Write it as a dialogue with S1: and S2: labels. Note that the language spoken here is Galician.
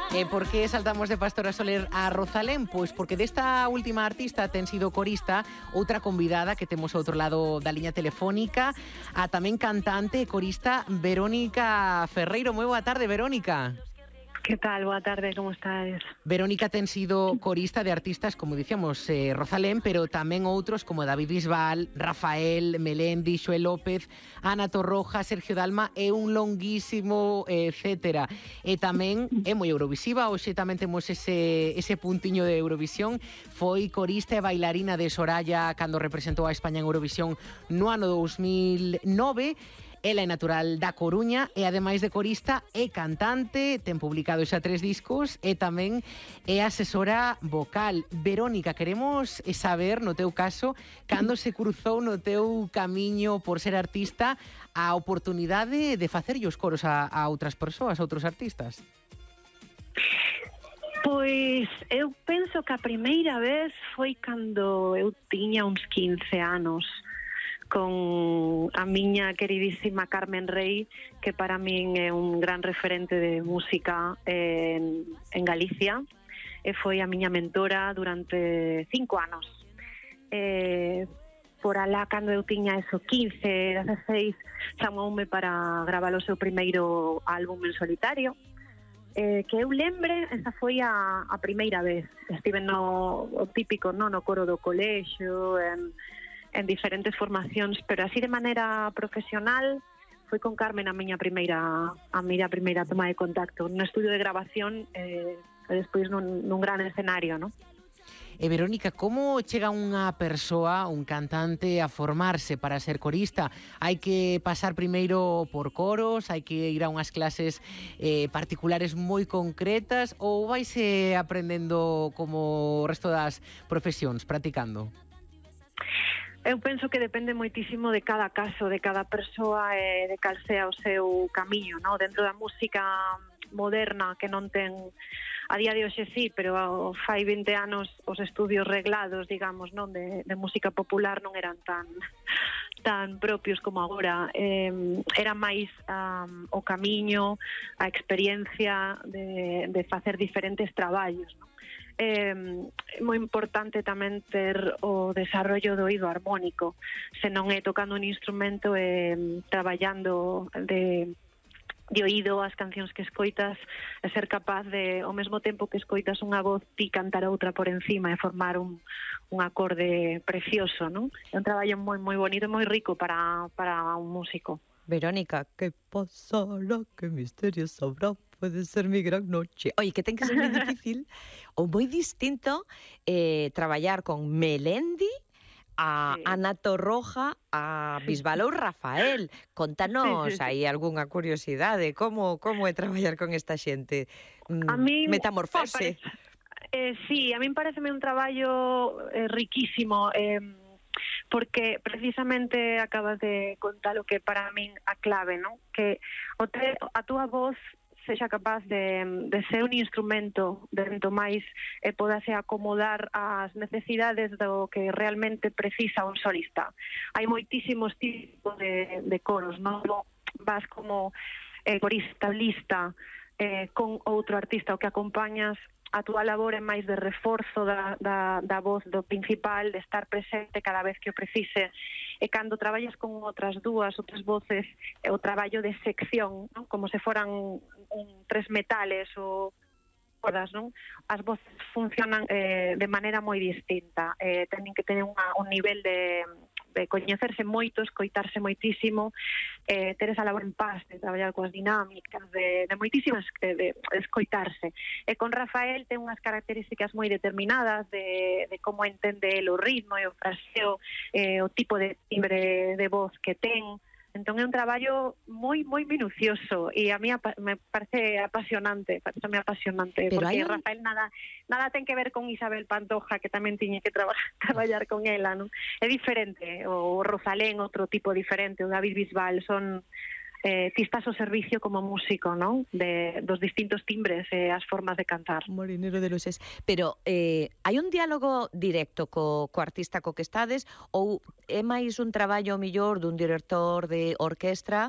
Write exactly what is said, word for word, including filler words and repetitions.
S1: E por que saltamos de Pastora Soler a Rosalén? Pois porque desta última artista ten sido corista outra convidada que temos ao outro lado da liña telefónica, a tamén cantante e corista Verónica Ferreiro. Moi boa tarde, Verónica.
S2: Que tal? Boa tarde, como estades?
S1: Verónica ten sido corista de artistas, como dicíamos, eh, Rosalén, pero tamén outros como David Bisbal, Rafael, Melendi, Xoel López, Ana Torroja, Sergio Dalma e un longuísimo eh, etcétera. E tamén é moi eurovisiva, hoxe tamén temos ese, ese puntiño de Eurovisión. Foi corista e bailarina de Soraya cando representou a España en Eurovisión no ano dous mil nove. Ela é natural da Coruña e, ademais de corista, é cantante, ten publicado xa tres discos e tamén é asesora vocal. Verónica, queremos saber, no teu caso, cando se cruzou no teu camiño por ser artista a oportunidade de facerlle os coros a, a outras persoas, a outros artistas.
S2: Pois eu penso que a primeira vez foi cando eu tiña uns quince anos, con a miña queridísima Carmen Rey, que para min é un gran referente de música en, en Galicia, e foi a miña mentora durante cinco anos. E, por alá, cando eu tiña eso, quince, dezasseis, chamoume para gravar o seu primeiro álbum en solitario, eh, que eu lembre, esa foi a, a primeira vez. Estive no o típico, no, no coro do colexio, en en diferentes formacións, pero así de maneira profesional foi con Carmen a miña primeira a miña primeira toma de contacto no estudio de grabación eh, e despois nun, nun gran escenario, non?
S1: E Verónica, como chega unha persoa, un cantante, a formarse para ser corista? Hai que pasar primeiro por coros, hai que ir a unhas clases eh, particulares moi concretas, ou vaise aprendendo como o resto das profesións, practicando?
S2: Eu penso que depende moitísimo de cada caso, de cada persoa e de cal sea o seu camiño, non? Dentro da música moderna, que non ten a día de hoxe sí, pero fai vinte anos os estudios reglados, digamos, non, de, de música popular non eran tan tan propios como agora. Eh, era máis um, o camiño, a experiencia de, de facer diferentes traballos, non? É eh, moi importante tamén ter o desarrollo do oído armónico, se non é tocando un instrumento e eh, traballando de, de oído as cancións que escoitas, e ser capaz de, ao mesmo tempo que escoitas unha voz, ti cantar outra por encima e formar un, un acorde precioso, non? É un traballo moi moi bonito e moi rico para, para un músico.
S3: Verónica, que pasará, que misterio sabrá, pode ser mi gran noche. Oye, que ten que ser moi difícil ou moi distinto eh, traballar con Melendi, a sí. Ana Torroja, a Bisbal ou Rafael. Contanos sí, sí, sí. aí algunha curiosidade, como como é traballar con esta xente?
S2: A mí
S3: Metamorfose.
S2: Eh, sí, a min pareceme un traballo eh, riquísimo, eh, porque precisamente acabas de contar o que para min a clave, non? Que o te, a túa voz sexa capaz de, de ser un instrumento dentro máis e podase acomodar ás necesidades do que realmente precisa un solista. Hai moitísimos tipos de, de coros, non? Vas como eh, corista, lista, eh, con outro artista o que acompañas. A túa labor é máis de reforzo da, da, da voz do principal, de estar presente cada vez que o precise, e cando traballas con outras dúas, outras voces, é o traballo de sección, non? Como se foran un, tres metales ou cordas, non? As voces funcionan eh, de maneira moi distinta, eh, teñen que tener unha, un nivel de de coñecerse moito, escoitarse moitísimo, eh, ter esa labor en paz, de traballar coas dinámicas, de, de moitísimas, de, de escoitarse. E con Rafael ten unhas características moi determinadas de, de como entende el o ritmo e o fraseo, eh, o tipo de timbre de voz que ten. Entón é un traballo moi moi minucioso e a mí me parece apasionante, parece apasionante, pero porque un... Rafael nada nada ten que ver con Isabel Pantoja, que tamén tiñe que traba, traballar con ela, non? É diferente, o Rosalén outro tipo diferente, o David Bisbal, son eh, ti estás ao servicio como músico, non? De, dos distintos timbres e as formas de cantar.
S3: Molinero de luces. Pero eh, hai un diálogo directo co, co artista co que estades ou é máis un traballo mellor dun director de orquestra